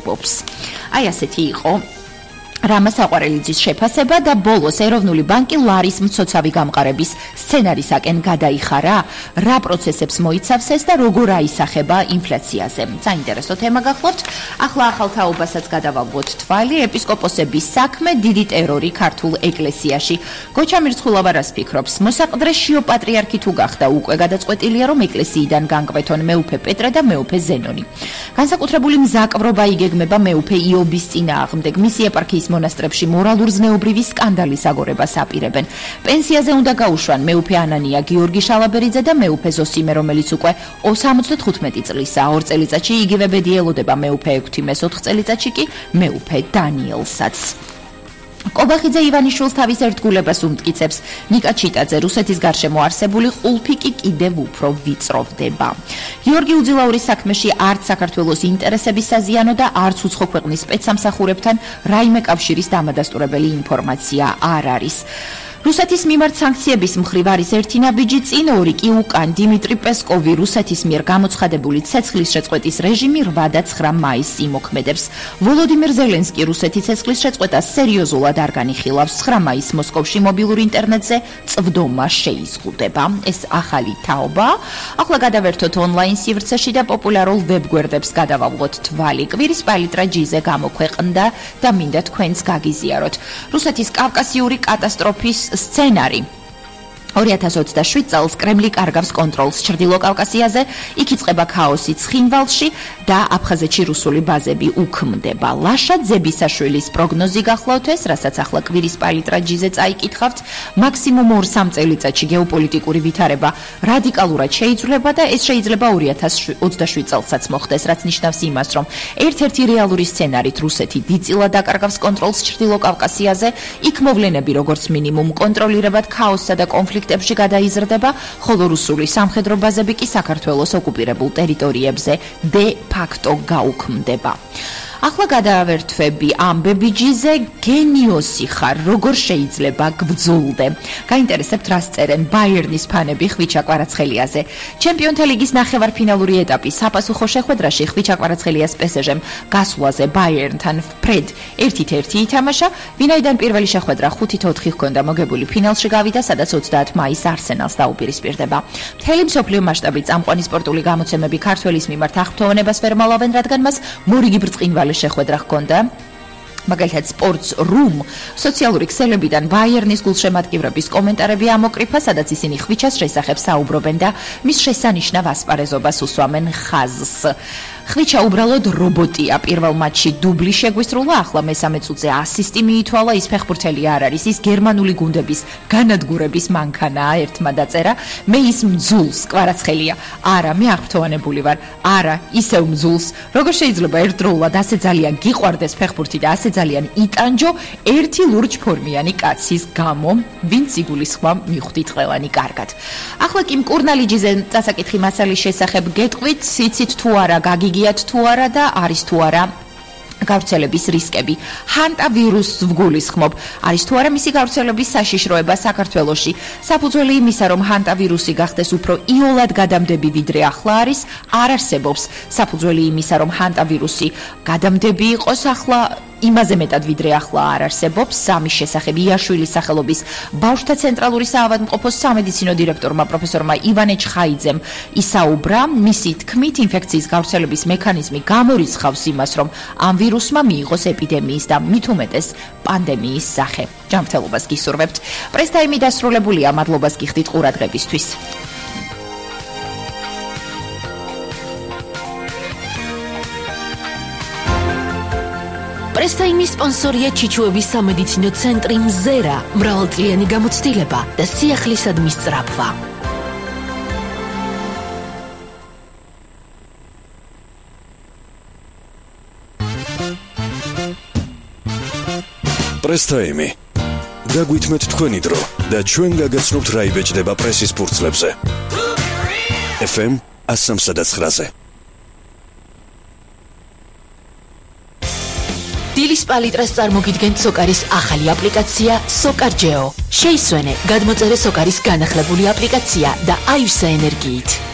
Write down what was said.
არსებობს. Აი ასეთი იყო რამას აყვარელიძის შეფასება და ბოლოს ეროვნული ბანკი ლარის მცოცავი გამყარების სცენარისაკენ გადაიხარა, რა პროცესებს მოიცავს ეს და როგორ აისახება ინფლაციაზე. საინტერესო თემა გახლავთ. ახლა ახალ თაობასაც გადავალვოთ თვალი, ეპისკოპოსების საქმე, დიდი ტერორი ქართულ ეკლესიაში. გოჩა მირცხულავა რას ფიქრობს? მოსაყდრე შიო პატრიარქი თუ გახდა, უკვე გადაწყვეტილია, რომ ეკლესიიდან განკვეთონ მეუფე პეტრე და მეუფე ზენონი. განსაკუთრებული მზაკვრობა იგეგმება მეუფე იობის წინააღმდეგ. მისი ეპარქიის მონასტრებში მორალურ-ზნეობრივი სკანდალის აგორებას აპირებენ. პენსიაზე უნდა გაუშვან მეუფე ანანია გიორგი შალაბერიძე და მეუფე ზოსიმე, რომელიც უკვე 75 წლისაა. 2 წელიწადში იგივე ბედი ელოდება მეუფე ექვთიმეს, 4 წელიწადში კი მეუფე დანიელსაც. კობახიძე ივანიშვილს თავის ერთგულებას უმტკიცებს. ნიკა ჩიტაძე რუსეთის გარშემო არსებული ყულფი კი კიდევ უფრო ვიწროვდება. გიორგი უძილაურის საქმეში არც საქართველოს ინტერესების საზიანო და არც უცხო ქვეყნის სპეცსამსახურებთან რაიმე კავშირის დამადასტურებელი ინფორმაცია არ არის. რუსეთის მიმართ სანქციების მხრივ არის ერთი ნაბიჯი წინ, 2 კი უკან. დიმიტრი პესკოვი რუსეთის მიერ გამოცხადებული ცეცხლის შეწყვეტის რეჟიმი 8 და 9 მაისს იმოქმედებს. ვოლოდიმირ ზელენსკი რუსეთის ცეცხლის შეწყვეტას სერიოზულად არ განიხილავს. 9 მაისს მოსკოვში მობილურ ინტერნეტზე წვდომა შეიზღუდება. ეს ახალი თაობა. ახლა გადავერთოთ ონლაინ სივრცეში და პოპულარულ ვებგვერდებს გადავავლოთ თვალი. კვირის პალიტრა ჯიზე გამოქვეყნდა და მინდა თქვენს გაგიზიაროთ. რუსეთის კავკასიური კატასტროფის სცენარი. 2027 წელს კრემლი კარგავს კონტროლს ჩრდილო კავკასიაზე, იქ იწყება ქაოსი ცხინვალში და აფხაზეთში რუსული ბაზები უქმდება. ლაშა ძებისაშვილის პროგნოზი გახლავთ ეს, რასაც ახლა კვირის პალიტრა ჯიზე წაიკითხავთ. მაქსიმუმ 2-3 წელიწადში გეოპოლიტიკური ვითარება რადიკალურად შეიცვლება და ეს შეიძლება 2027 წელსაც მოხდეს, რაც ნიშნავს იმას, რომ ერთ-ერთი რეალური სცენარით რუსეთი დიდწილად აკარგავს კონტროლს ჩრდილო კავკასიაზე, იქ მოვლენები როგორც მინიმუმ კონტროლირებად ქაოსსა და კონფლიქტებში გადაიზრდება, ხოლო რუსული სამხედრო ბაზები კი საქართველოს ოკუპირებულ ტერიტორიებზე დე ფაქტო გაუქმდება. ახლა გადავერთვები ამბები ჯიზე, გენიოსი ხარ, როგორ შეიძლება გბძულდე. გაინტერესებთ რას წერენ ბაიერნის ფანები ხვიჩა კვარაცხელიაზე. ჩემპიონთა ლიგის ნახევარფინალური ეტაპი საპასუხო შეხვედრაში ხვიჩა კვარაცხელიას პესეჟემ გასვლაზე ბაიერნთან ფრედ 1-1 ითამაშა, ვინაიდან პირველი შეხვედრა 5-4 ჰქონდა მოგებული, ფინალში გავიდა, სადაც 30 მაისს არსენალს დაუპირისპირდება. მთელი მსოფლიო მასშტაბით წამყვანი სპორტული გამოცემები ქართველის მიმართ აღფრთოვანებას ვერ მალავენ, რადგან მას მორიგი ბრწყინვალე შეხვედრა ჰქონდა. მაგალითად სპორტს რუმ სოციალური ქსელებიდან ბაიერნის გულშემატკივრების კომენტარები ამოკრიფა, სადაც ისინი ხვიჩას შესახებ საუბრობენ და მის შესანიშნავ ასპარეზობას უსვამენ ხაზს. ხვიჩა უბრალოდ რობოტია. პირველ მატჩში დუბლი შეგვისრულა, ახლა მესამე წუთზე ასისტი მიითვალა, ის ფეხბურთელი არ არის, ის გერმანული გუნდების განადგურების მანქანაა, ერთმა დაწერა. მე ის მძულს კვარაცხელია. არა, მე აღფრთოვანებული ვარ. არა, ისევ მძულს. როგორ შეიძლება ერთდროულად ასე ძალიან გიყვარდეს ფეხბურთი და ასე ძალიან იტანჯო ერთი ლურჯფორმიანი კაცის გამო, ვინც იგულისხმა მიხვდით ყველანი კარგად. ახლა კი მკურნალიჯიზე წასაკითხი მასალის შესახებ გეტყვით, იცით თუ არა, გაგიგიათ თუ არა და არის თუ არა გავრცელების რისკები. ჰანტავირუსს ვგულისხმობ. არის თუ არა მისი გავრცელების საშიშროება საქართველოში. საფუძველი იმისა, რომ ჰანტავირუსი გახდეს უფრო იოლად გადამდები ვიდრე ახლა არის, არ არსებობს. საფუძველი იმისა, რომ ჰანტავირუსი გადამდები იყოს ახლა იმაზე მეტად ვიდრე ახლა არ არსებობს. სამის შესახებ იაშვილის სახელობის ბავშვთა ცენტრალური საავადმყოფოს სამედიცინო დირექტორმა პროფესორმა ივანე ჩხაიძემ ისაუბრა. მისი თქმით, ინფექციის გავრცელების მექანიზმი გამორიცხავს იმას, რომ ამ ვირუსმა მიიღოს ეპიდემიის და მით უმეტეს პანდემიის სახე. ჯანმრთელობას გისურვებთ. პრესტაიმი დასრულებულია, მადლობას გიხდით ყურადღებისთვის. პრესტაიმის სპონსორია ჩიჩუების სამედიცინო ცენტრი მზერა, მრავალწლიანი გამოცდილება და სიახლისადმის სწრაფვა. პრესტაიმი. გაგვითმეთ თქვენი დრო და ჩვენ გაგაცნობთ რა იბეჭდება პრესის ფურცლებზე. FM 103-ზე. დილის პალიტრას წარმოგიდგენთ სოკარის ახალი აპლიკაცია სოკარჯეო. შეისვენე, გადმოწერე სოკარის განახლებული აპლიკაცია და აივსა ენერგიით.